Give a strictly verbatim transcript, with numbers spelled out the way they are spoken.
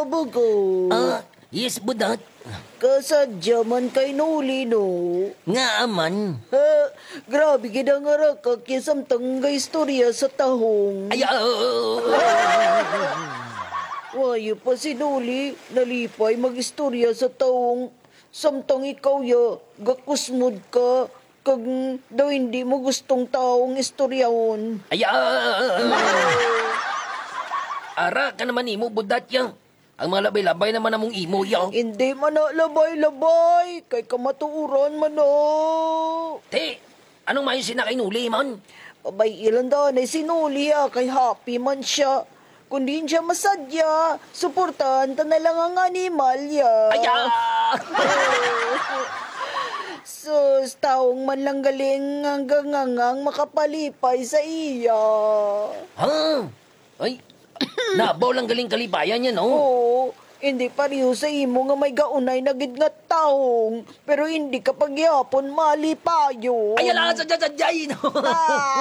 Bugo. Ah, yes, Budat. Kasadya man kay Noli, no? Nga man. Ha, grabe gid ang arakak ya samtang gaistorya sa tahong. Ay, ah. Wayo pa si Noli, nalipay mag-istorya sa tahong. Samtang ikaw ya, gakusmod ka, kag daw hindi mo gustong tahong istoryahon. Ay, ah. Ara ka naman nimo, Budat, ya. Ang mga labay-labay naman among imo, ya. Hindi man na labay-labay, kay kamatuoran man na. Te, anong may sina kay Noli, man? Pabay-i lang daw na si Noli, ah, kay happy man siya. Kung diin siya masadya, suportahan ta na lang ang animal, ya. Ay, ah! Sus, tahong man lang galing ang gangangang makapalipay sa iya. Ha? Ay, nabaw lang galing kalipayan niya, no? Oo, hindi pareho sa imo nga may gaunay na gid nga tahong, pero hindi ka pagyapon malipayon. Ay, ala, sa, sa, sa, no? Ah.